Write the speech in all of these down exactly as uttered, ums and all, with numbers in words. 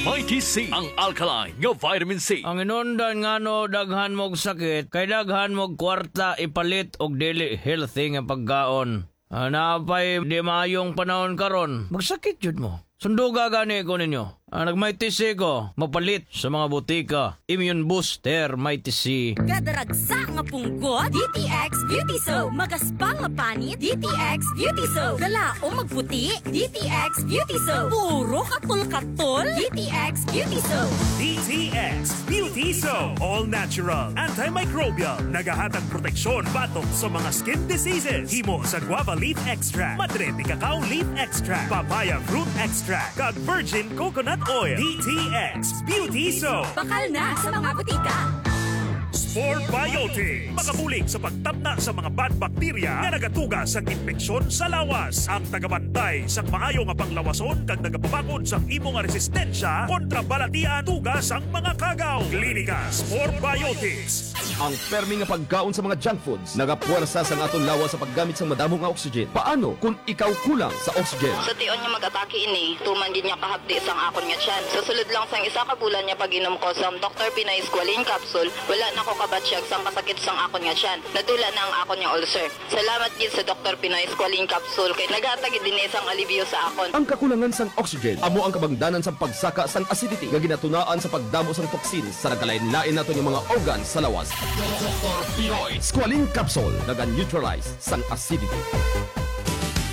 Mighty C, ang alkaline nga vitamin C. Ang inundan ngano daghan mo og sakit, kay daghan mo og kwarta ipalit og dili healthy nga pagkaon. Ah, naa pay di maayong panahon karon, magsakit jud mo. Sunduga gani ko ninyo. Ah, nag-Mighty C ko, mapalit sa mga butika. Immune Booster Mighty C. Kada ragsa nga punggot, D T X Beauty Soap. Magaspang nga panit, D T X Beauty Soap. Galaom magputi, D T X Beauty Soap. Puro katol-katol, D T X Beauty Soap. D T X Beauty Soap. All natural, antimicrobial. Nagahatag proteksyon batok sa mga skin diseases. Himo sa guava leaf extract, madre de cacao leaf extract, papaya fruit extract, kag virgin coconut oil. D T X Beauty Soap. Bakal na sa mga butika. Spore Biotics. Makabulig sa pagtapna sa mga bad bacteria nga nagatuga sa impeksyon sa lawas. Ang tagabantay sa maayo nga panglawason kag nagapabakod sa imo nga resistensya kontra balatian tuga sang mga kagaw. Klinika Spore Biotics. Ang permi nga pagkaon sa mga junk foods nagapuwersa sang aton lawas sa paggamit sang madamo nga oxygen. Paano kung ikaw kulang sa oxygen? Sa tion nga mag-atake ini, tuman gid niya kahapdi sang akon nga tiyan. Sa sulod lang sang isa ka bulan nga pag-inom ko sang Doktor Pinoy Squalene Capsule, wala na ko kabatyag sang kasakit sang akon nga tiyan. Nadula na ang akon nga ulcer. Salamat gid sa Doktor Pinoy Squalene Capsule kay naghatag gid ini sang alibyo sa akon. Ang kakulangan sang oxygen amo ang kabangdanan sang pagsaka sang acidity nga ginatunaan sa pagdamo sang toxins sa nagkalain-lain naton nga mga organ sa lawas. Doktor Pinoy Squalene Capsule naga-neutralize sang acidity.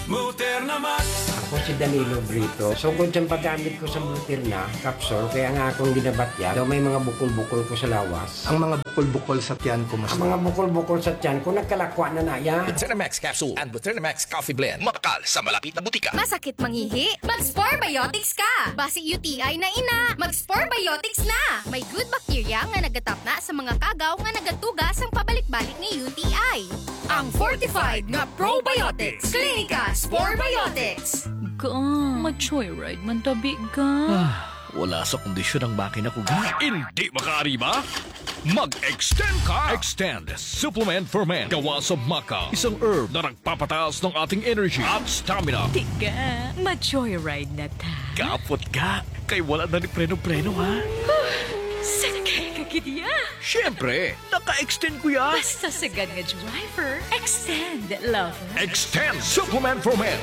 Muterna Max. Ako si Danilo Brito. Sukod sa paggamit ko sa Muterna Capsule, kaya nga akong ginabatya, daw may mga bukol-bukol ko sa lawas. Ang mga bukol-bukol sa tiyan ko, mas Ang mga bukol-bukol sa tiyan ko, nagkalakwa na na yan. Buterna Max Capsule and Buterna Max Coffee Blend. Mabakal sa malapit na butika. Masakit mangihi? Mag-Spore Biotics ka! Basi U T I na ina, mag-Spore Biotics na! May good bacteria nga nagatapna sa mga kagaw nga nagatuga sang pabalik-balik nga U T I. Ang fortified nga probiotics, Klinika Spore Biotics. Ga, ma-joyride man tabi, ga. Ah, wala sa kondisyon ang makina ko, ga. Hindi makaari ba? Mag-extend ka! Extend Supplement for Men. Gawa sa maca, isang herb na nagpapataas ng ating energy at stamina. Tiga, ma-joyride na ta. Kapot ga, kay wala na ni preno-preno, ha? Sakay ka gid ya. Siyempre, naka-extend ko ya. Basta sagad nga driver, extend, lover. Extend Supplement for Men.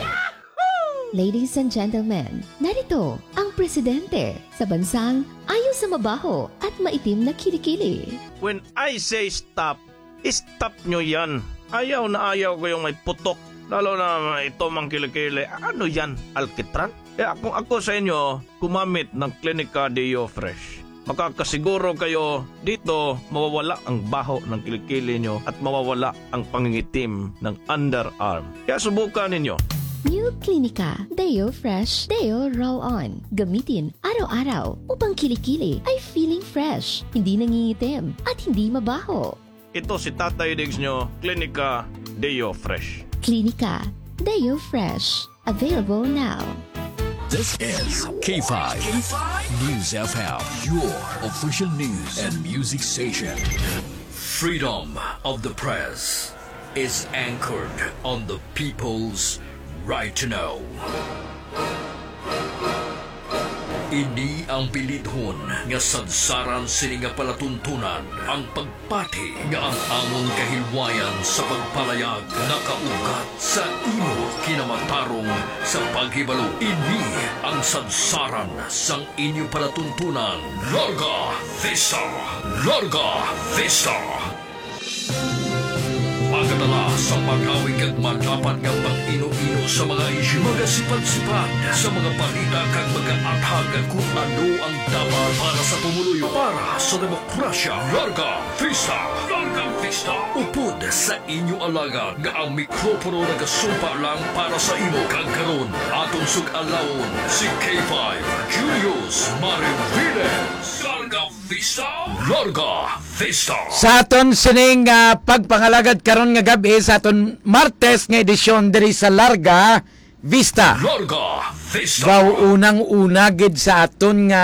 Ladies and gentlemen, narito ang presidente sa bansang ayo sa mabaho at maitim na kilikili. When I say stop, stop nyo yan. Ayaw na ayaw ko yung may putok. Lalo na ito mang kilikili. Ano yan? Alkitran? Kaya kung ako sa inyo, gumamit ng Klinika Deo Fresh. Makakasiguro kayo dito mawawala ang baho ng kilikili nyo at mawawala ang pangingitim ng underarm. Kaya subukan ninyo. New Klinika Deo Fresh Deo Roll-On. Gamitin araw-araw upang kilikili ay feeling fresh, hindi nangingitim, at hindi mabaho. Ito si Tatay Diggs nyo, Klinika Deo Fresh. Klinika Deo Fresh. Available now. This is K five News F M, your official news and music station. Freedom of the press is anchored on the people's right to know. Ini ang bilidhon nga sadsaran sini nga palatuntunan, ang pagpati nga ang amon kahilwayan sa pagpalayag nakaugat sa imo kinamatarong sa paghibalo. Ini ang sadsaran sang inyo palatuntunan. Larga Vista! Larga Vista! Magadala sa magawi kag madapat nga pag-ino-ino sa mga isyu, magasipad-sipad sa mga balita kag magaathag kung ano ang dapat para sa pumuluyo, para sa demokrasya. Larga Vista! Larga Vista! Upod sa inyo alagad nga ang mikropono nagasumpa lang para sa imo, kag karon aton sug-alawon si K five Julius Mariviles. Larga Vista! Larga Vista! Sa aton sining, ah, pagpangalagad karon nga gab-i sa aton Martes nga edisyon diri sa Larga Vista. Larga Vista! Wow, unang-una gid sa aton nga,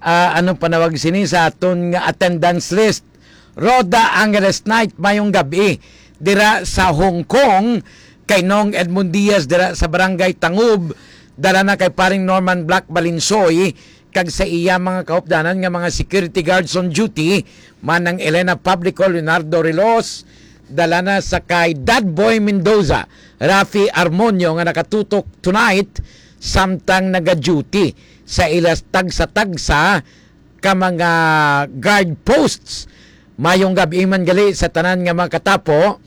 ah, ano panawag sini, sa aton nga attendance list. Rhoda Angeles Knight, mayong gab-i dira sa Hong Kong, kay Nong Edmund Diaz dira sa Barangay Tangub, dala na kay paring Norman Black Balinsoy, kag sa iya mga kaupdanan nga mga security guards on duty, Manang Elena Publico, Leonardo Rilos, dala na sa kay Dad Boy Mendoza, Rafi Armonio nga nakatutok tonight samtang naga-duty sa ila tagsa-tagsa ka mga guard posts. Mayong gab-i man gali sa tanan nga mga katapo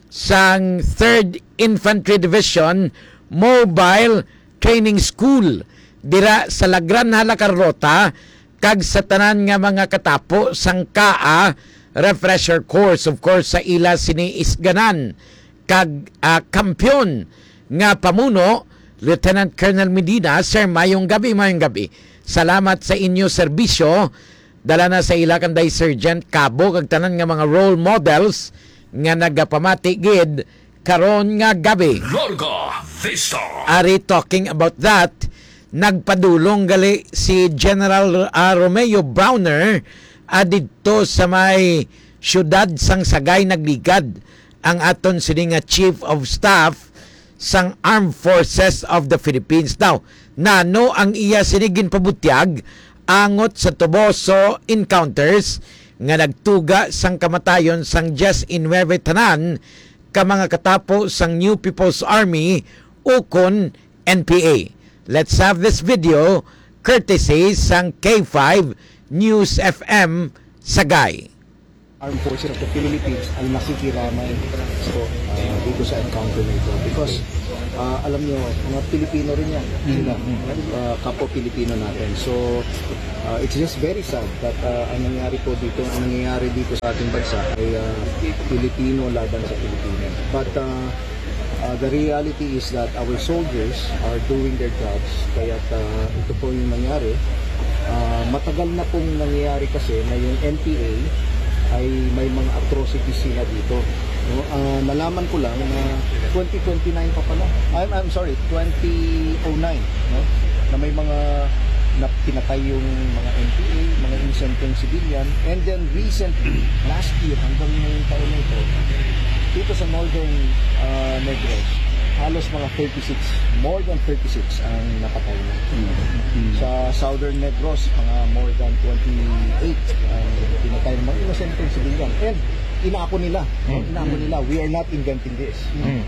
sang Third Infantry Division Mobile Training School dira sa La Granja, La Carlota, kag sa tanan nga mga katapo sang kaa refresher course, of course, sa ila sini isganan kag, ah, kampiyon nga pamuno, Lieutenant Colonel Medina. Sir, mayong gabi, mayong gabi. Salamat sa inyo serbisyo. Dala na sa ila kanday Sergeant Cabo kag tanan nga mga role models nga nagapamati gid karon nga gabi. Larga Vista. Ari, talking about that, nagpadulong gali si General, ah, Romeo Brawner, ah, didto sa may siyudad sang Sagay. Nagligad ang aton sini nga Chief of Staff sang Armed Forces of the Philippines. Daw, nano ang iya sini ginpabutyag angot sa Toboso encounters nga nagtuga sang kamatayon sang diyes y nuebe tanan ka mga katapo sang New People's Army, ukon N P A. Let's have this video courtesy sang K five News F M Sagay. Armed Forces of the Philippines ang nakikiramay sa, ah, dito sa encounter na ito. Because, ah, alam nyo, mga Pilipino rin yan. Sila, ah, kapwa Pilipino natin. So, ah, it's just very sad that, ah, ang nangyari po dito, ang nangyayari dito sa ating bansa ay, ah, Pilipino laban sa Pilipino. But, ah, Uh, the reality is that our soldiers are doing their jobs. Kaya, uh, ito po yung nangyari. Uh, matagal na pong nangyayari kasi na yung N P A ay may mga atrocities sila dito. No? Uh, nalaman ko lang na twenty twenty-nine pa pala. I'm, I'm sorry, twenty oh nine, no? Na may mga na pinatay yung mga N P A, mga inosenteng civilian. And then recently, last year, hanggang ngayong taon na ito, dito sa Northern, ah, Negros, halos mga thirty-six, more than thirty-six ang napatay na. Mm. Sa Southern Negros, mga more than twenty-eight ang pinatay ng mga inosenteng civilian. And inaako nila, no? Mm. Inaako nila, "We are not inventing this." Mm.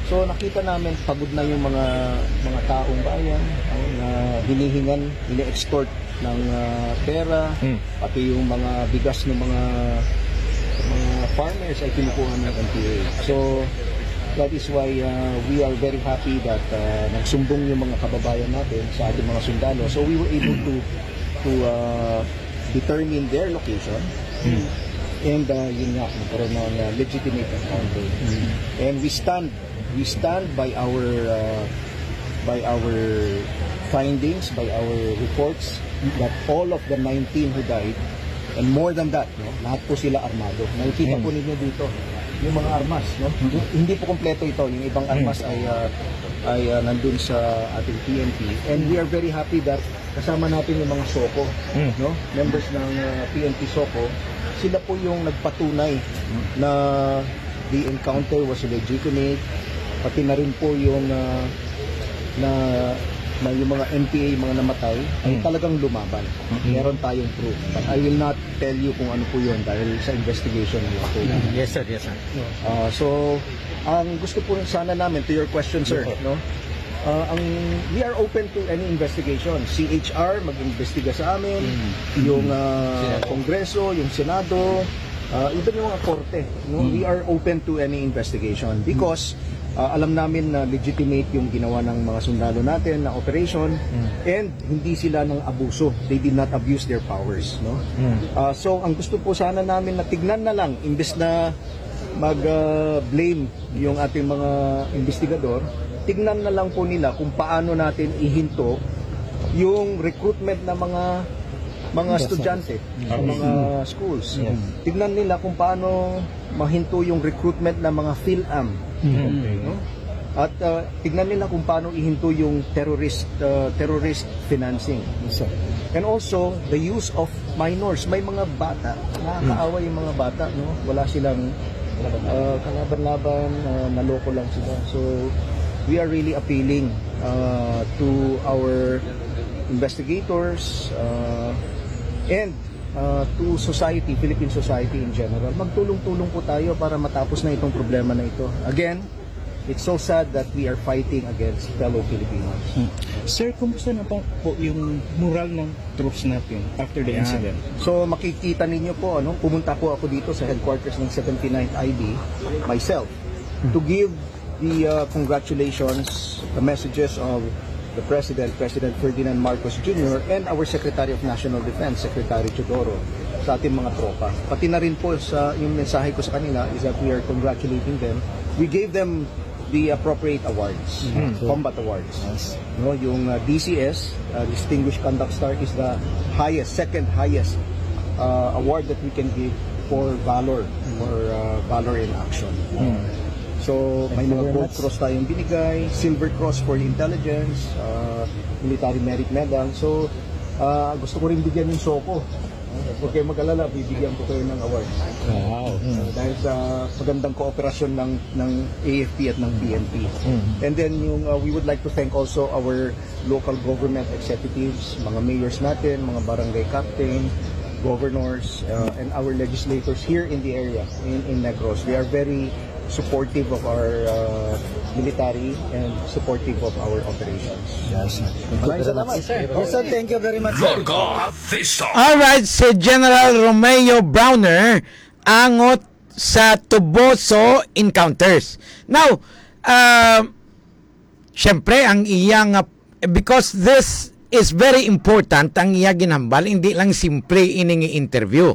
So, nakita namin, pagod na yung mga, mga taong bayan, no, na hinihingan, ini-extort ng, ah, pera, Mm. pati yung mga bigas ng mga, mga farmers ay kinukuha ng N P A. So, that is why, ah, we are very happy that, ah, nagsumbong yung mga kababayan natin sa ating mga sundalo. So, we were able to, to, ah, determine their location. Mm. And, ah, yun nga, nagkaroon ng, ah, legitimate encounter. Mm. And we stand, we stand by our, ah, by our findings, by our reports, that all of the nineteen who died, and more than that, no, lahat po sila armado. Nakikita Mm. po ninyo dito, yung mga armas, no? Mm. Yung, hindi po kompleto ito. Yung ibang Mm. armas ay, ah, ay, ah, nandun sa ating P N P. And we are very happy that kasama natin yung mga SOCO, Mm. no? Members ng, ah, P N P SOCO. Sila po yung nagpatunay Mm. na the encounter was legitimate. Pati na rin po yung, ah, na, na yung mga N P A, mga namatay, ay Mm. talagang lumaban. Mm. Meron tayong proof. But I will not tell you kung ano po yun dahil sa investigation na po. Mm. Yes, sir. Yes, sir. Ah, so, ang gusto po sana namin, to your question, sir, Yes, sir. no? Ah, ang, we are open to any investigation. C H R, mag-imbestiga sa amin. Mm. Yung, ah, Senado. Kongreso, yung Senado, ah, even yung mga korte, no? Mm. We are open to any investigation because, ah, alam namin na legitimate yung ginawa ng mga sundalo natin na operation Mm. and hindi sila nang abuso. They did not abuse their powers, no? Mm. Ah, so, ang gusto po sana namin na tignan na lang, imbes na mag, ah, blame yung ating mga investigador, tignan na lang po nila kung paano natin ihinto yung recruitment ng mga, mga Yes, sir. estudyante sa Mm. mga schools. Yes. Tignan nila kung paano mahinto yung recruitment ng mga PhilAm. Mm. No? At, ah, tignan nila kung paano ihinto yung terrorist, ah, terrorist financing. Yes, sir. And also, the use of minors. May mga bata, nakakaawa yung mga bata, no? Wala silang, ah, kalaban-laban, ah, naloko lang sila. So, we are really appealing, ah, to our, investigators, uh, and uh, to society, Philippine society in general. Magtulong-tulong po tayo para matapos na itong problema na ito. Again, it's so sad that we are fighting against fellow Filipinos. Sir, kumusta na po, po yung moral ng troops natin after the Ayan. incident? So makikita ninyo po, ano, pumunta po ako dito sa headquarters ng seventy-ninth I B myself to give the uh, congratulations, the messages of the President, President Ferdinand Marcos Junior, and our Secretary of National Defense, Secretary Teodoro, sa ating mga tropa. Pati na rin po sa yung mensahe ko sa kanila is that we are congratulating them. We gave them the appropriate awards, combat awards. No, yung uh, D C S, uh, Distinguished Conduct Star, is the highest, second highest uh, award that we can give for valor, for uh, valor in action. So, may Thank you mga very Gold much. Cross tayong binigay, Silver Cross for intelligence, uh, Military Merit Medal. So, uh, gusto ko rin bigyan yung SOCO. Huwag kayong mag-alala, bibigyan ko kayo ng award. Wow. Uh, dahil sa magandang kooperasyon ng, ng A F P at ng P N P. And then yung uh, we would like to thank also our local government executives, mga mayors natin, mga barangay captain, governors, uh, and our legislators here in the area, in, in Negros. They are very supportive of our uh, military and supportive of our operations. Yes. Maraming salamat. Sir, sir, thank you very much, sir. Larga Vista. Alright, si General Romeo Browner angot sa Toboso encounters. Now, uh, syempre, ang iyang, uh, because this is very important, ang iya ginhambal, hindi lang simple ining interview.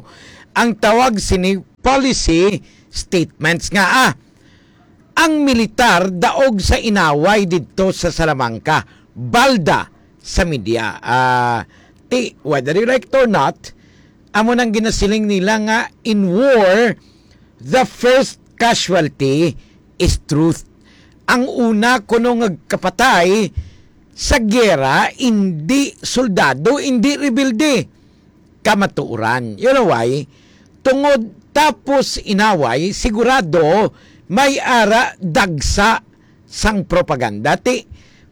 Ang tawag sini policy statements nga, ah, ang militar daog sa inaway didto sa Salamanca, balda sa media. Ah, ti, whether you like it or not, amo nang ginasiling nila nga in war, the first casualty is truth. Ang una kuno nga kapatay sa giyera, hindi soldado, hindi rebelde, kamatuoran. You know why? Tungod tapos inaway, sigurado may ara dagsa sang propaganda. Ti,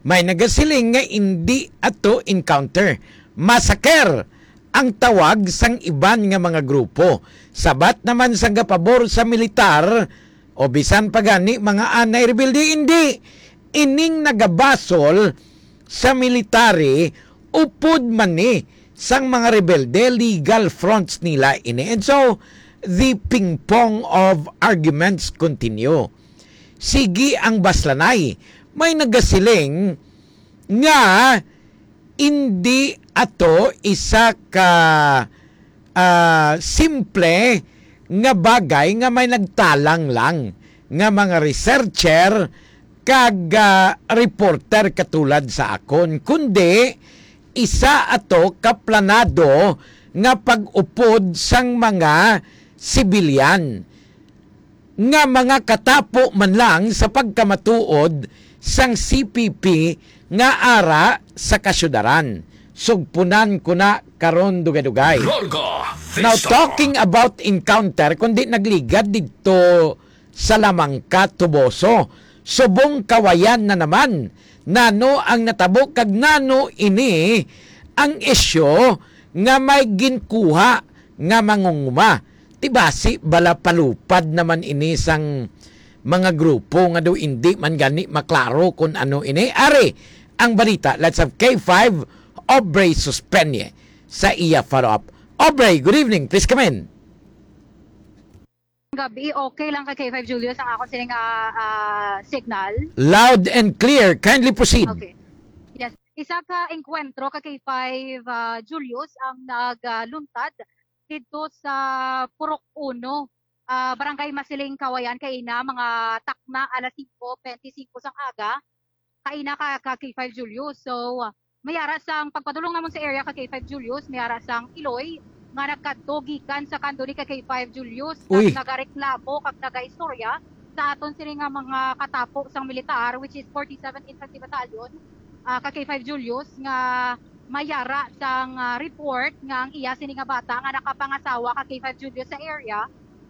may nagasiling nga indi ato encounter, massacre ang tawag sang iban nga mga grupo. Sabat naman sang gapabor sa militar, o bisan pa gani mga anay rebelde, indi. Ining nagabasol sa military, upod man ni sang mga rebelde, legal fronts nila ini. And so, the ping-pong of arguments continue. Sige ang baslanay. May nagasiling nga indi ato isa ka, ah, simple nga bagay nga may nagtalang lang nga mga researcher kag, ah, reporter katulad sa akon, kundi isa ato ka planado nga pag-upod sang mga sibilyan nga mga katapo man lang sa pagkamatuod sang C P P nga ara sa kasyudaran. Sugpunan ko na karon dugay-dugay. Larga Now, Vista. Talking about encounter, kundi nagligad didto sa Salamanca, Toboso, subong kawayan na naman. Nano ang natabo kag nano ini ang isyu nga may ginkuha nga mangunguma? Ti basi bala palupad naman ini sang mga grupo nga daw indi man gani maklaro kung ano ini. Ari ang balita. Let's have K five, Aubrey Suspenye sa iya follow-up. Aubrey, good evening. Please come in. Gabi, okay lang kay K five Julius ang akon sining, ah, ah, signal. Loud and clear. Kindly proceed. Okay. Yes. Isa ka engkwentro ka K five, ah, Julius ang nagluntad didto sa Purok Uno, ah, Barangay Masiling, Kawayan, kaina mga takna alas singko bente singko sang aga. Kaina ka, ka K five Julius. So, ah, may ara sang pagpadulong namon sa area ka K five Julius, may ara sang iloy nga nagkadto gikan sa kando ni ka K five Julius, kag Uy. nagareklamo kag nagaistorya sa aton sini nga mga katapo sang militar, which is forty-seven Infantry Battalion, ah, ka K five Julius, nga may ara sang, ah, report nga ang iya sini nga bata nga nakapangasawa ka K five Julius sa area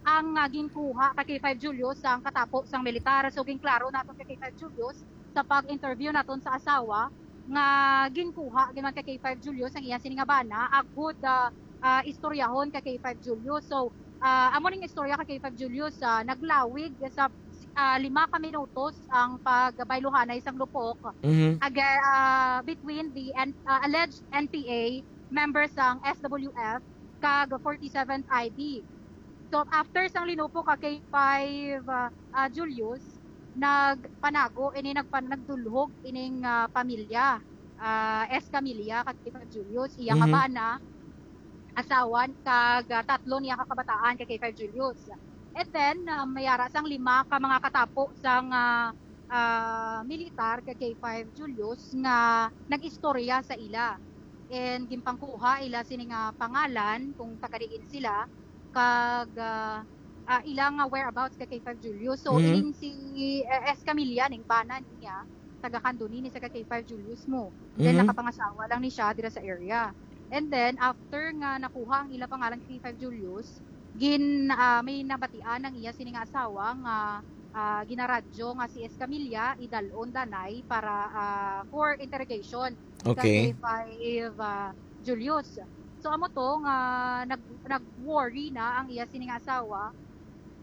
ang, ah, ginkuha ka K five Julius sang katapo sang militar. So, ginklaro naton ka K five Julius sa pag-interview naton sa asawa nga ginkuha gid man ka K five Julius ang iya sini nga bana, agud, ah, ah, istoryahon ka K five Julius. So, ah, amo ning istorya ka K five Julius, ah, naglawig sa, ah, lima ka minutos ang pagbayluhanay sang lupok Mhm. aga-, ah, between the N-, ah, alleged N P A members sang S W F kag forty-seventh I B. So, after sang linupok ka K five, ah, ah, Julius, nagpanago ini, nagpan-, nagdulhog ining, ah, pamilya, ah, Escamilla kag K five Julius, iya nga Mhm. bana, asawa, kag, ah, tatlo niya ka kabataan kay K five Julius. And then, ah, may ara sang lima ka mga katapo sang, ah, ah, militar kay K five Julius nga nag-istorya sa ila. And ginpangkuha ila sini nga pangalan kung taga diin sila, kag, ah, ah, ila nga whereabouts ka K five Julius. So, Mhm. ining si, eh, Escamilla, ning bana niya, taga Candoni ni sa ka K five Julius mo. Then, Mhm. nakapangasawa lang ni siya dira sa area. And then, after nga nakuha ang ila pangalan kay K five Julius, gin-, ah, may nabatian ang iya sini nga asawa nga, ah, ginaradyo nga si Escamilla idalon danay para, ah, for interrogation sa Okay. K five, ah, Julius. So, amo to nga nag-, nag-worry na ang iya sini nga asawa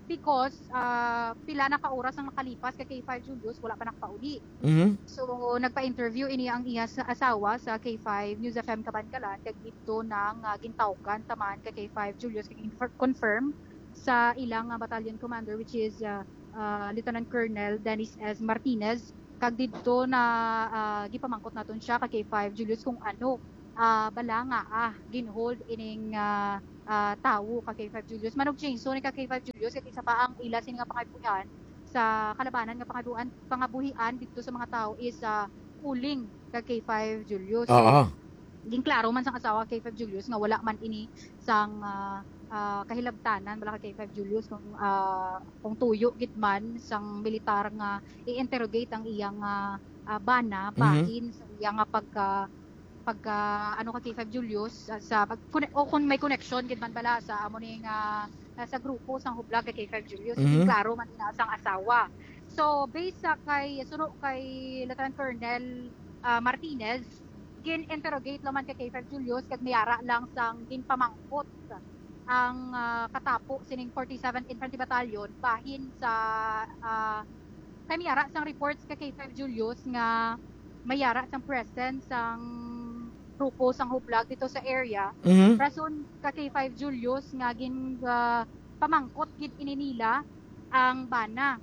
because, ah, pila na ka oras ang nakalipas kay K five Julius, wala pa nakapauli. Mhm. So, nagpa-interview ini ang iya sa asawa sa K five News F M Kabankalan, kag didto na nga gintawgan ta man kay K five Julius, kag infer-, confirm sa ilang, ah, battalion commander, which is, ah, ah, Lieutenant Colonel Dennis S. Martinez, kag didto na, ah, gipamangkot naton siya ka K five Julius kung ano, ah, bala nga, ah, ginhold ining, ah, ah, tawo ka K five Julius. Manog chainsaw ni ka K five Julius, kag isa pa ang ila sini nga pangabuhian sa kalabanan nga pangabuan-, pangabuhian didto sa mga tawo is, ah, uling ka K five Julius. So, Oo. ginklaro man sang asawa ka K five Julius nga wala man ini sang, ah, ah, kahilabtanan bala ka K five Julius kung, ah, kung tuyo gid man sang militar nga i-interrogate ang iyang, ah, ah, bana Mhm. bahin sa iya nga pagka, pagka, ano, ka K five Julius, ah, sa pag-, kone-, o kung may connection gid man bala sa amo ni nga, ah, sa grupo sang hublag kay K five Julius. Mhm. Ginklaro man ina sang asawa. So, based sa kay, suno kay Lieutenant Colonel, ah, Martinez, gin-interrogate lang man kay K five Julius kag may ara lang sang ginpamangkot ang, ah, katapo sining forty-seventh Infantry Battalion bahin sa, ah, kay may ara sang reports kay K five Julius nga may ara sang presence sang grupo sang hublag dito sa area. Mhm. Rason ka K five Julius nga gin, ah, pamangkot gid ini nila ang bana.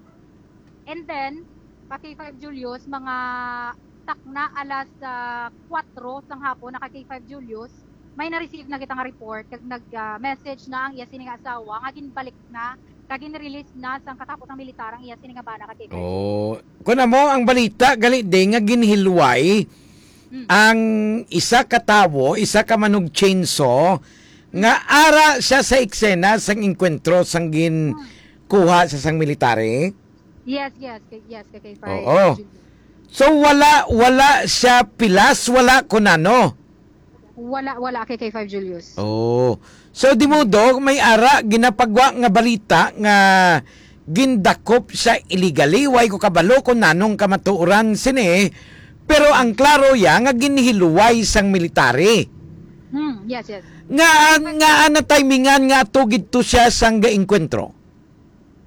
And then, pa K five Julius, mga takna alas, ah, kuwatro sang hapon, naka K five Julius, may na-receive na kita nga report, kag nag, ah, message na ang iya sini nga asawa nga ginbalik na, kag gin-release na sang katapos ang militar ang iya sini nga bana ka K five Julius. Oh, kun amo ang balita, gali di nga ginhilway Hmm. ang isa ka tawo, isa ka manugtsinso, nga Hmm. ara siya sa eksena sang engkwentro sang Hmm. ginkuha sa sang military? Yes, yes, kay, yes, kay, kay Fire Oo. Julius. So, wala, wala siya pilas, wala kunano? Wala, wala kay, kay Five Julius. Oh. So, di mo, Dok, may ara ginapagwa nga balita nga gindakop siya illegally. Way ko kabalo kung nanong kamatuoran sini. Pero ang klaro ya nga ginhiluway sang military. Hmm, yes, yes. Nga, Kay Five nga ana timingan nga ato gid to siya sang gaengkwentro?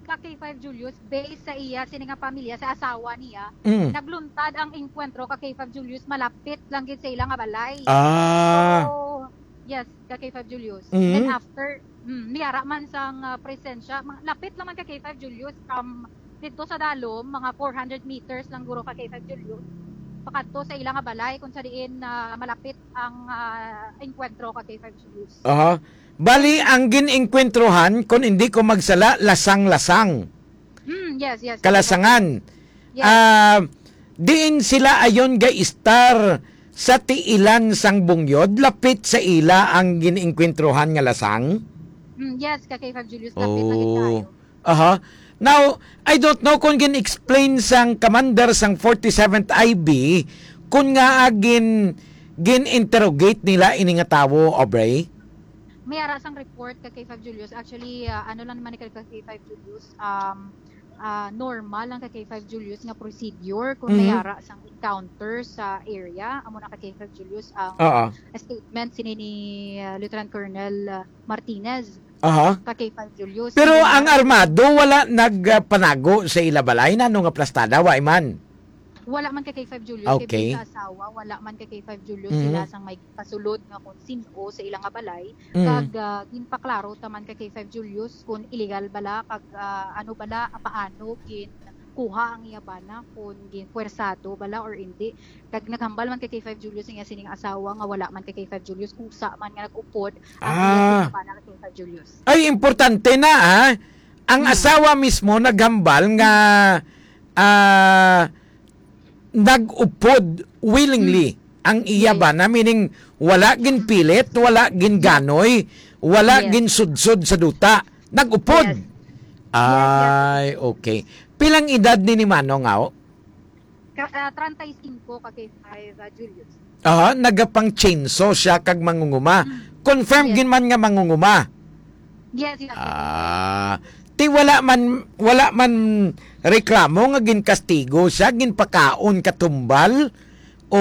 Ka K five Julius, based sa iya, sini nga pamilya, sa asawa niya, Mm. nagluntad ang engkwentro ka K five Julius, malapit lang gid sa ila nga balay. Ah. So, yes, ka K five Julius. Mm. Then after, mm, may ara man sang, ah, presensya, ma-, lapit lang man ka K five Julius, from dito sa Dalom, mga four hundred meters lang guro ka K five Julius, pakadto sa ila nga balay, kung sa diin, ah, malapit ang, ah, engkwentro ka K five Julius. Aha. Bali, ang gin-engkwentrohan, kung hindi ko magsala, lasang-lasang. Hmm, yes, yes. Kalasangan. Yes. Ah, diin sila ayon ga-istar sa tiilan sang bungyod, lapit sa ila ang gin-engkwentrohan nga lasang? Hmm, yes, ka K five Julius, lapit na gid Oh. kaayo. Aha. Now, I don't know kung gin-explain sang commander sang forty-seventh I B kung ngaa gin-, gin-interrogate nila ini nga tawo, Aubrey? May ara sang report ka K five Julius. Actually, ah, ano lang naman ni ka K five Julius, um, Ah, normal lang ka K five Julius nga procedure kung Mhm. may ara sang encounter sa area. Amo na ka K five Julius ang Oo. statement sini ni, ah, Lieutenant Colonel, ah, Martinez Aha. ka K five Julius. Pero Hindi ang na armado wala nagpanago sa ila balay, nano nga plastada, wa man? Wala man ka K five Julius, kay Okay. sa asawa, wala man ka K five Julius Mhm. sila sang may kasulod nga kung sin-o sa ila nga balay. Mm. Kag, ah, ginpaklaro ta man ka K five Julius kung illegal bala, kag, ah, ano bala, paano ginkuha ang iya bana, kung ginpuwersado bala or indi. Kag naghambal man ka K five Julius ang iya sining asawa nga wala man ka K five Julius, kusa man nga nag-upod ang iya Ah. sining bana ka K five Julius. Ay, importante na, ah. Ang Hmm. asawa mismo naghambal nga, ah, nag-upod willingly Hmm. ang iya Yes. bana, meaning wala ginpilit, wala ginganoy, wala Yes. ginsudsod sa duta. Nag-upod. Yes. Yes, yes. Ay, okay. Pilang edad ni, ni Manong, aw? Ka-, ah, treinta y cinco ka K five, ah, Julius. Aha, nagapang-chainsaw siya kag mangunguma. Mm. Confirm Yes. gid man nga mangunguma. Yes, yes, yes. Ah, ti wala man, wala man reklamo nga ginkastigo siya, ginpakaon katumbal o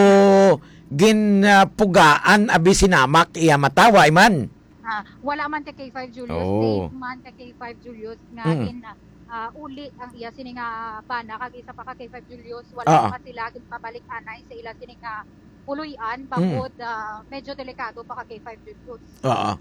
gin, ah, pugaan abi sinamak iya mata, wa man? Ah, wala man ka K five Julius, Oh. safe man ka K five Julius nga Mm. gin, ah, uli ang iya sini nga bana kag isa pa ka K five Julius, wala Ah. pa sila ginpabalik anay sa ila sini nga puloy-an Mm. bangod, ah, medyo delikado pa ka K five Julius. Oo.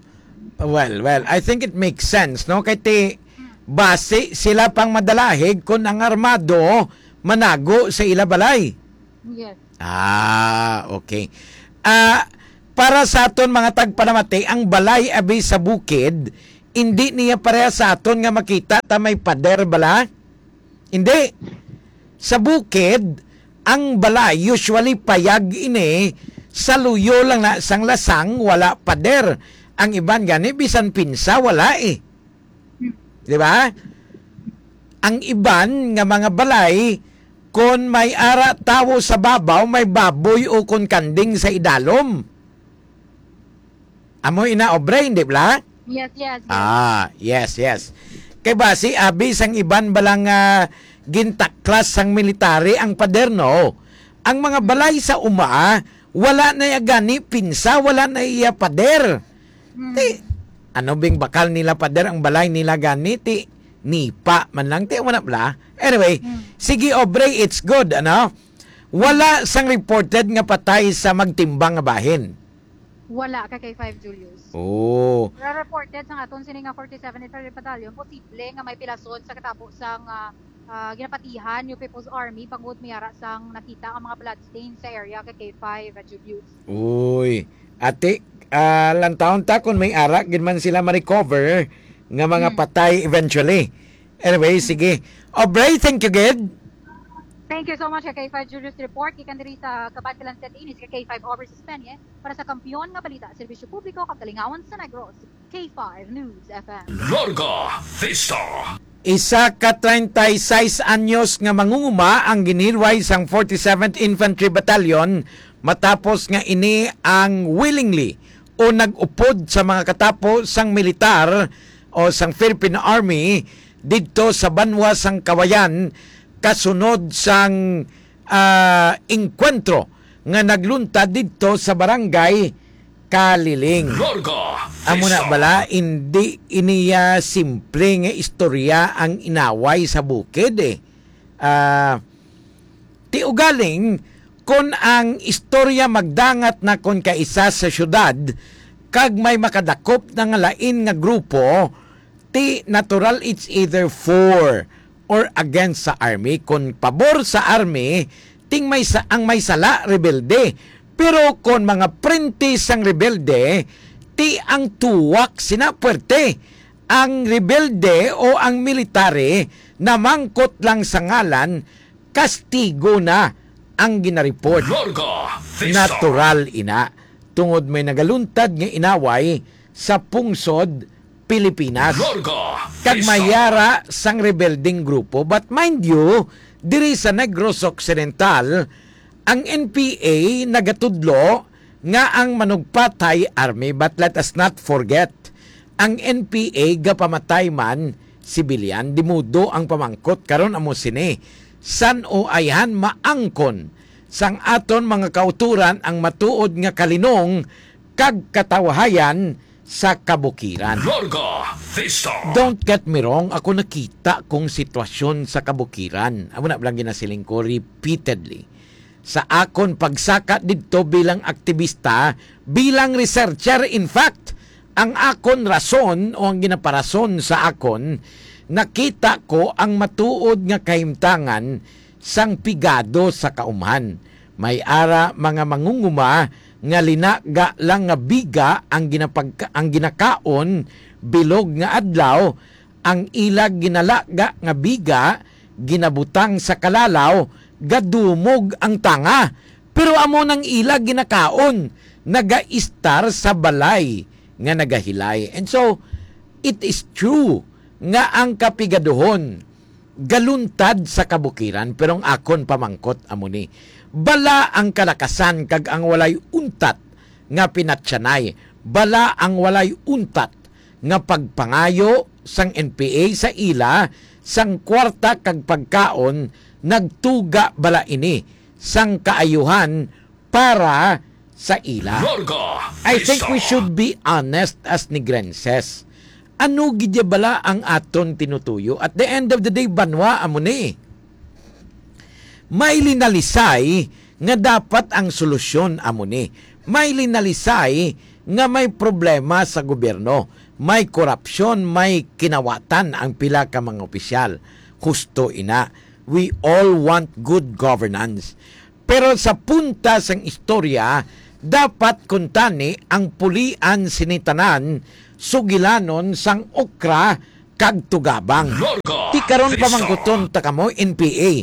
Well, well, I think it makes sense, no? Kay ti, Mm. basi sila pang madalahig kung ang armado manago sa ila balay. Yes. Ah, okay. Ah, para sa aton mga tagpanamati, ang balay abi sa bukid, indi niya pareha sa aton nga makita ta may pader bala? Hindi. Sa bukid, ang balay usually payag ini, sa luyo lang na sang lasang, wala pader. Ang iban gani, bisan pinsa, wala eh. Di ba? Ang iban nga mga balay, kon may ara tawo sa babaw, may baboy o kon kanding sa idalom. Amo ina, obre, hindi bala? Yes, yes, yes. Ah, yes, yes. Kay basi, abi sang iban bala nga gintaklas sang military ang pader, no? Ang mga balay sa uma, wala na iya gani pinsa, wala na iya pader. Mm. Ti, ano bing bakal nila pader ang balay nila gani? Ti, nipa man lang, ti, wala bala. Anyway, Mm. sige, obre, it's good, ano? Wala sang reported nga patay sa magtimbang nga bahin. Wala ka K five, Julius. Oh. Pero reported sang aton sini nga forty-seven Infantry Battalion, posible nga may pilason sa katabo sang, ah, ah, ginapatihan yung People's Army bangod may ara sang nakita ang mga bloodstains sa area ka K five, ah, Julius. Uy. Ate, ah, lantawon ta kung may ara gid man sila ma-recover nga mga Mm. patay eventually. Anyway, sige. Obre, thank you gid. Thank you so much, K five Julius Report. Gikan diri sa Kabankalan City, ini si K five Obre Sispenye para sa Kampiyon nga Balita, Serbisyo Publiko kag Kalingawan sa Negros, K five News F M. Larga Vista. Isa ka treinta y seis anyos nga mangunguma ang ginhilway sang forty-seventh Infantry Battalion matapos nga ini ang willingly o nag-upod sa mga katapo sang militar o sang Philippine Army didto sa banwa sang Kawayan kasunod sang, ah, engkwentro nga nagluntad didto sa barangay Kaliling. Larga Amo na Vista. Bala, hindi iniya simple nga istorya ang inaway sa bukid, eh. Ah, ti ugaling, kon ang istorya magdangat na kon kaisa sa syudad, kag may makadakop na nga lain nga grupo, ti natural it's either for or against sa army. Kon pabor sa army, ting may sa, ang may sala, rebelde. Pero kon mga prente sang rebelde, ti ang tuwak sina puwerte. Ang rebelde o ang military namangkot lang sa ngalan, kastigo na ang ginareport. Larga Vista. Natural ina, tungod may nagaluntad nga inaway sa pungsod Pilipinas. Larga Kag Vista. May ara sang rebelding grupo. But mind you, diri sa Negros Occidental, ang N P A nagatudlo nga ang manugpatay army. But let us not forget, ang N P A gapamatay man sibilyan. Di mudo ang pamangkot karon amo sini, san-o ayhan maangkon sang aton mga kautoran ang matuod nga kalinong kag katawhayan sa kabukiran? Larga Vista. Don't get me wrong, ako nakita kong sitwasyon sa kabukiran. Amo na lang ginasiling ko repeatedly. Sa akon pagsaka didto bilang aktibista, bilang researcher, in fact, ang akon rason o ang ginaparason sa akon, nakita ko ang matuod nga kahimtangan sang pigado sa kaumhan. May ara mga mangunguma nga linaga lang nga biga ang ginapag-, ang ginakaon bilog nga adlaw, ang ila ginalaga nga biga ginabutang sa kalalaw, gadumog ang tanga. Pero amo nang ila ginakaon, nagaistar sa balay nga nagahilay. And so, it is true nga ang kapigaduhon galuntad sa kabukiran, pero ang akon pamangkot amo ni, bala ang kalakasan kag ang walay untat nga pinatyanay, bala ang walay untat nga pagpangayo sang N P A sa ila sang kwarta kag pagkaon, nagtuga bala ini sang kaayuhan para sa ila? Larga I think we Vista. Should be honest as Negrenses. Ano gid ya bala ang aton tinutuyo? At the end of the day, banwa amo ni. May linalisay nga dapat ang solusyon amo ni. May linalisay nga may problema sa gobyerno. May korupsyon, may kinawatan ang pila ka mga opisyal. Husto ina. We all want good governance. Pero sa punta sang istorya, dapat kuntani ang pulian sini tanan sugilanon sang okra kag tugabang. Larga Ti karon Vista. Pamangkuton ta kamo, N P A.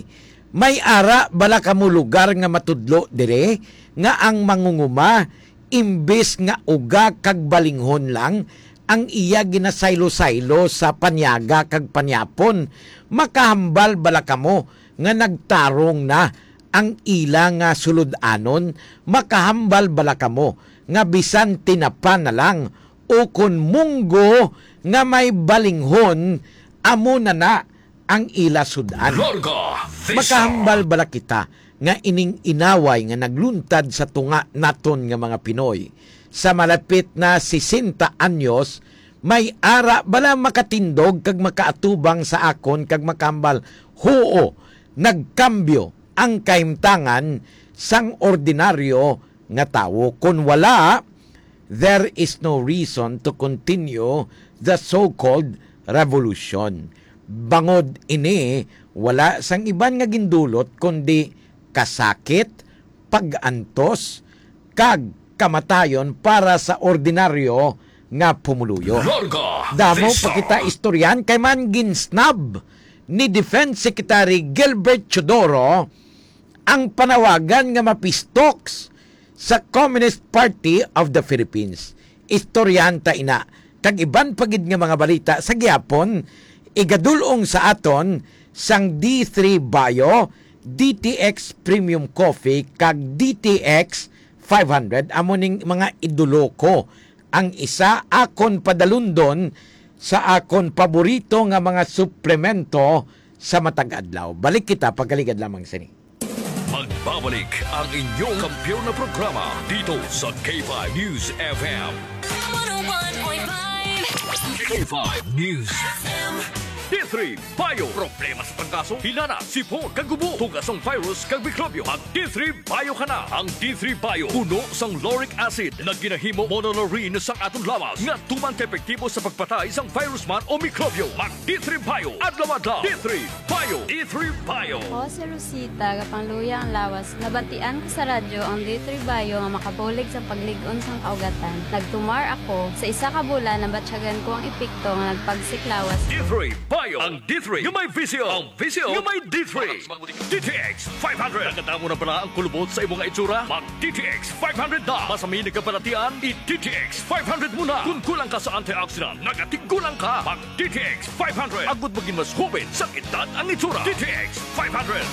May ara bala kamo lugar nga matudlo dire nga ang mangunguma, imbis nga uga kag balinghon lang ang iya ginasaylo-saylo sa panyaga kag panyapon? Makahambal bala kamo nga nagtarong na ang ila nga sulod-anon? Makahambal bala kamo nga bisan tinapa na lang, o kon munggo nga may balinghon, amo na na ang ila sud-an? Larga Vista. Makahambal bala kita nga ining inaway nga nagluntad sa tunga naton nga mga Pinoy sa malapit na sesenta anyos, may ara bala makatindog kag makaatubang sa akon kag makahambal, huo, nagkambyo ang kahimtangan sang ordinaryo nga tawo. Kon wala, there is no reason to continue the so-called revolution. Bangod ini, wala sang iban nga gindulot kundi kasakit, pag-antos, kag kamatayon para sa ordinaryo nga pumuluyo. Larga Damo Vista. Pa kita istoryan kay man ginsnab ni Defense Secretary Gilbert Teodoro ang panawagan nga mapistoks sa Communist Party of the Philippines. Istoryahan ta ina kag iban pa gid nga mga balita sa gihapon, igadul-ong sa aton sang D three Bio, D T X Premium Coffee, kag D T X five hundred. Amo ning mga idolo ko. Ang isa akon padalundon sa akon paborito nga mga suplemento sa matag adlaw. Balik kita pagkaligad lamang sini. Magbabalik ang inyong kampiyon na programa dito sa K five News F M. One oh one point five. K five News F M. D three Bio. Problema sa trangkaso, hinana, sipon, kag ubo, tugas sang virus kag mikrobyo. Mag D three Bio ka na. Ang D three Bio puno sang lauric acid na ginahimo monolaurin sang aton lawas nga tuman ka epektibo sa pagpatay sang virus man o mikrobyo. Mag D three Bio adlaw-adlaw. D three Bio. D three Bio. Ako si Rosita, gapangluya ang lawas. Nabatian ko sa radyo ang D three Bio nga makabulig sa paglig-on sang kaugatan. Nagtumar ako. Sa isa ka bulan, nabatyagan ko ang epekto nga nagpagsik lawas ko. D three Bio. Ang D three nga may vision. Ang vision nga may D three. D T X five hundred. Nakadamo na bala ang kulubot sa imo nga itsura? Mag D T X five hundred na. Masami nagkabalatian, i-D T X five hundred mo na. Kung kulang ka sa antioxidant, nagatiggulang ka. Mag D T X five hundred. Agud magin mas hoben sang edad ang itsura. D T X five hundred.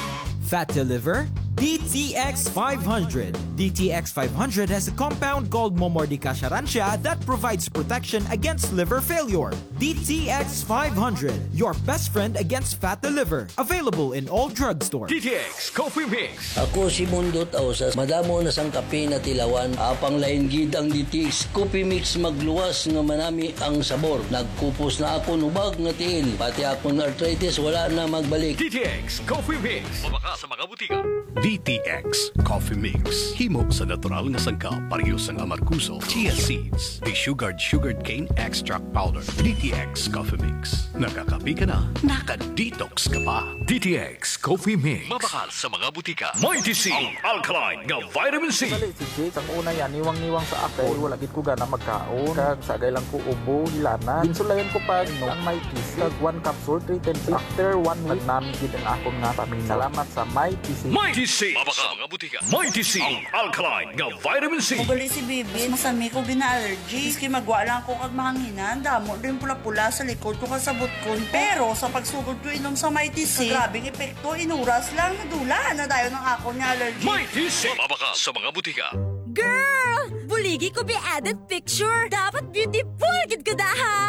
Fat to liver? D T X five hundred. D T X five hundred has a compound called Momordica charantia that provides protection against liver failure. D T X five hundred, your best friend against fatty liver. Available in all drugstores. D T X Coffee Mix. Ako si Mundot Ausas, madamo na sang kape na tilawan, apang lain gid ang D T X Coffee Mix, magluwas nga manami ang sabor. Nagkupos na akon hubag nga tiil, pati akon arthritis wala na magbalik. D T X Coffee Mix. Mabakal sa mga butika. D T X Coffee Mix. Himo sa natural nga sangkap, pareho sang amargoso, chia seeds, desugared sugarcane extract powder. D T X Coffee Mix. Nakakape ka na, naka-detox ka pa. D T X Coffee Mix. Mabakal sa mga butika. Mighty C, ang alkaline nga vitamin C. Dali, si Jake, sang una yan, niwang-niwang sa akon. Wala gid ko gana magkaon. Kag sagay lang ko ubo, hilanat. Ginsulayan ko pa, no, ang Mighty C. Kag one capsule, three times. After one week, nagnami gid ang akon nga paminaw. Salamat sa Mighty C. Mighty C. Mabakal sa mga butika. Mighty C, ang alkaline nga vitamin C. Ugali si Bibi, masami ko gina-allergy. Maski magwa lang ako kag mahanginan, damo din pula-pula sa likod ko kag sa butkon ko. Pero sa pagsugod ko inom sa Mighty C, grabing epekto, inuras lang, nadula na dayon ang akon nga allergy. Mighty C. Mabakal sa mga butika. Girl! Buligi ko bi edit picture. Dapat beautiful gid ka da, ha?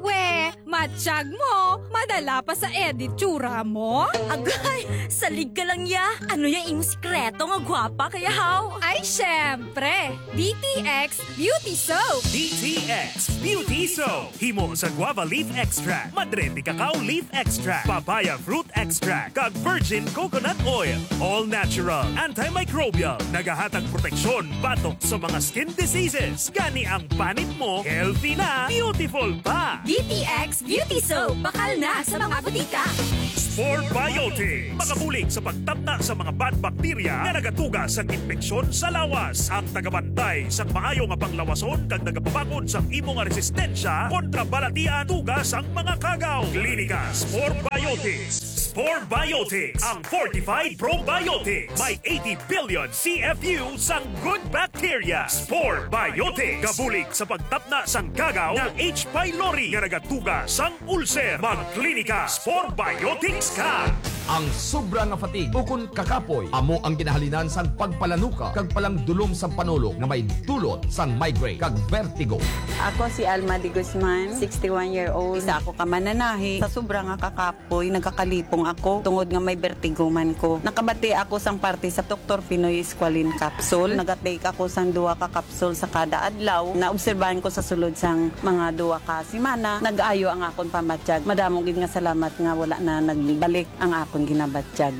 We, matsyag mo. Madala pa sa edit tsura mo. Agay, salig ka lang ya. Ano ya imong sikreto nga gwapa kaya haw? Ay, syempre. D T X Beauty Soap. D T X Beauty Soap. Himo sa guava leaf extract, madre de cacao leaf extract, papaya fruit extract, kag virgin coconut oil. All natural, antimicrobial, nagahatag proteksyon batok sa mga skin diseases. Gani ang panit mo, healthy na, beautiful pa. D T X Beauty Soap, bakal na sa mga butika. Spore Biotics, makabulig sa pagtapna sa mga bad bacteria nga nagatuga sang impeksyon sa lawas. Ang tagabantay sang maayo nga panglawason kag nagapabakod sang imo nga resistensya kontra balatian tuga sang mga kagaw. Klinika Spore Biotics. Spore Biotics, ang fortified probiotics. May eighty billion C F U sang good bacteria. Spore Biotics. Gabulig sa pagtapna sang kagaw nga H. pylori nga nagatuga sang ulcer. Magklinika Spore Biotics ka. Ang sobra nga fatigue ukon kakapoy amo ang ginahalinan sang pagpalanuka kag palangdulom sang panulok nga may dulot sang migraine kag vertigo. Ako si Alma de Guzman, sixty-one year old. Isa ako ka mananahi. Sa sobra nga kakapoy, nagkakalipong ako tungod nga may vertigo man ko. Nakabati ako sang parte sa Doktor Pinoy Squalene Capsule. Nagatake ako sang duha ka capsule sa kada adlaw. Naobserbahan ko sa sulod sang mga duha ka semana, nag-ayo ang akon pamatyag. Madamo gid nga salamat nga wala na nagbalik ang akon ginabatyag.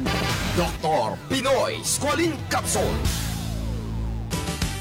Doktor Pinoy Squalene Capsule.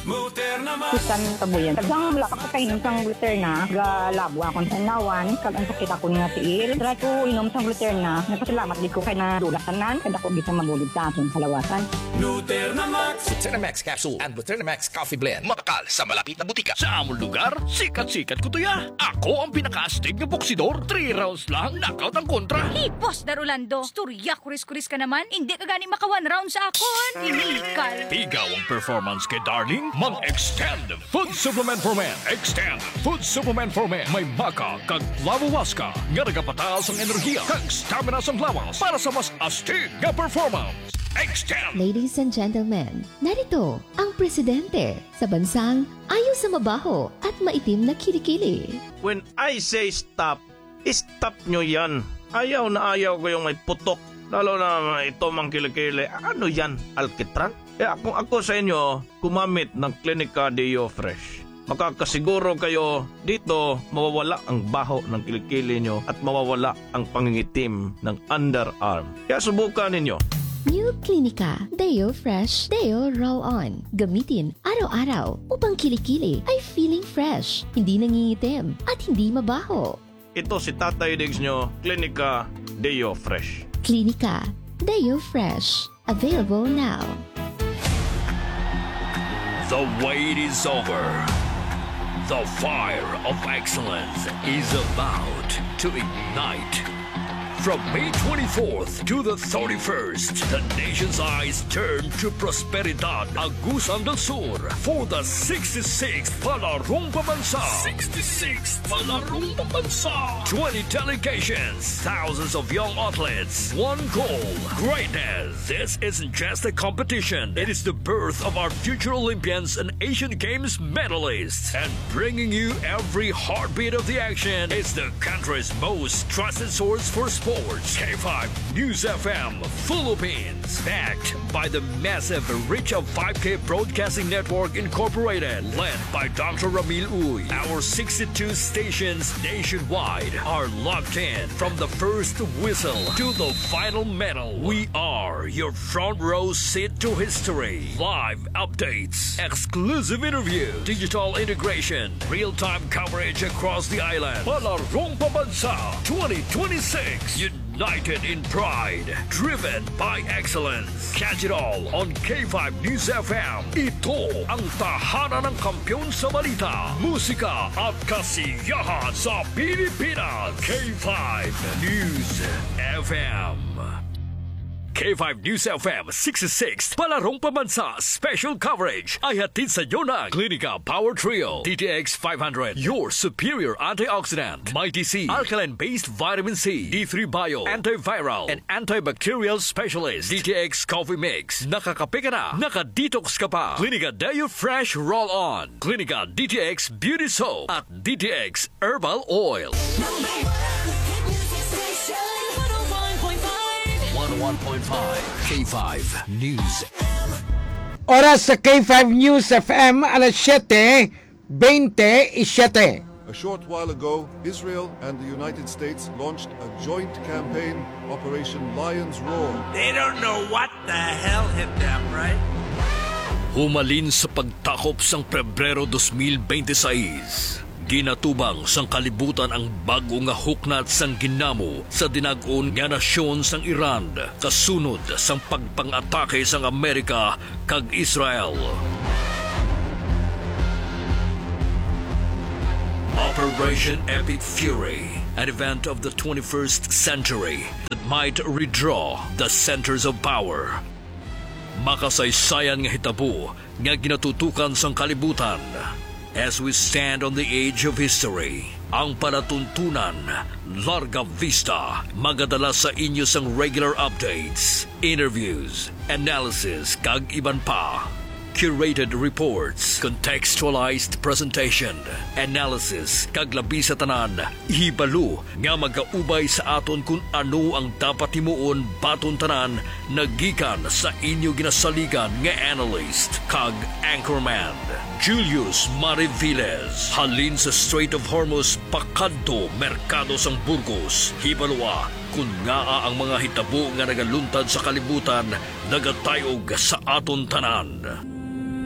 Susan Kabuyan. Sang wala pa ko kainom sang Gluterna, galabo akon sa nawan, kag ang sakit akon nga tiil. Try ko inom sang Gluterna, nagpasalamat gid ko kay nadula tanan, kay dako gid sang mabulig sa akon kalawasan. Gluterna Max. Gluterna Max Capsule and Gluterna Max Coffee Blend. Mabakal sa malapit na butika. Sa amon lugar, sikat-sikat ko to ya. Ako ang pinakaastig nga boksidor. Three rounds lang, knockout ang kontra. Hipos, Dar Orlando. Istorya, kuris-kuris ka naman. Hindi ka gani maka one round sa akon. Illegal. Tigaw ang performance kay Darling. Mag-Extend Food Supplement for Men. Extend Food Supplement for Men. May maca kag flavowaska nga nagapataas ang enerhiya kag stamina sang lawas para sa mas astig nga performance. Extend. Ladies and gentlemen, narito ang presidente sa bansang ayaw sa mabaho at maitim na kilikili. When I say stop, stop nyo yan. Ayaw na ayaw ko yung may putok. Lalo na ito mang kilikili. Ano yan? Alkitran? Kaya kung ako sa inyo, gumamit ng Clinica Deo Fresh. Makakasiguro kayo dito mawawala ang baho ng kilikili nyo at mawawala ang pangingitim ng underarm. Kaya subukan ninyo. New Clinica Deo Fresh Deo Roll On. Gamitin araw-araw upang kilikili ay feeling fresh, hindi nangingitim, at hindi mabaho. Ito si Tatay Diggs nyo, Clinica Deo Fresh. Clinica Deo Fresh. Available now. The wait is over. The fire of excellence is about to ignite. From May twenty-fourth to the thirty-first, the nation's eyes turn to Prosperidad, Agusan del Sur, for the sixty-sixth Palarong Pambansa. Sixty-sixth Palarong Pambansa. Twenty delegations, thousands of young athletes, one goal, greatness. This isn't just a competition. It is the birth of our future Olympians and Asian Games medalists. And bringing you every heartbeat of the action is the country's most trusted source for sports. K five News F M Philippines. Backed by the massive reach of five K Broadcasting Network Incorporated. Led by Doctor Ramil Uy. Our sixty-two stations nationwide are locked in. From the first whistle to the final medal, we are your front row seat to history. Live updates, exclusive interview, digital integration, real-time coverage across the island. Palarong Pambansa twenty twenty-six. United in pride, driven by excellence. Catch it all on K five News F M. Ito ang tahanan ng kampiyon sa balita, musika at kasiyahan sa Pilipinas. K five News F M. K five News F M sixty-six, Palarong Pambansa Special Coverage ay hatid sa inyo ng Klinika Power Trio, D T X five hundred, your superior antioxidant, Mighty C, alkaline-based vitamin C, D three Bio, antiviral and antibacterial specialist, D T X Coffee Mix. Nakakape ka na, naka-detox ka pa. Klinika Deo Fresh Roll-On, Klinika D T X Beauty Soap, at D T X Herbal Oil. Number one hit music station, one oh one point five. One oh one point five K five News. Oras sa K five News F M, alas siyete bente y siyete. A short while ago, Israel and the United States launched a joint campaign, Operation Lion's Roar. They don't know what the hell hit them, right? Humalin sa pagtakop sang Pebrero dos mil bente-sais, ginatubang sang kalibutan ang bag-o nga huknat sang ginamo sa dinag-on nga nasyon sang Iran, kasunod sang pagpang-atake sang Amerika kag Israel. Operation Epic Fury, an event of the twenty-first century that might redraw the centers of power. Makasaysayan nga hitabo nga ginatutukan sang kalibutan. As we stand on the edge of history, ang palatuntunan, Larga Vista, magadala sa inyo sang regular updates, interviews, analysis, kag iban pa. Curated reports, contextualized presentation, analysis, kag labi sa tanan, hibalo nga magaubay sa aton kon ano ang dapat himuon baton tanan, nagikan sa inyo ginasaligan nga analyst kag anchorman, Julius Mariviles. Halin sa Strait of Hormuz pakadto merkado sang Burgos, hibaloa kon ngaa ang mga hitabo nga nagaluntad sa kalibutan nagatayog sa aton tanan.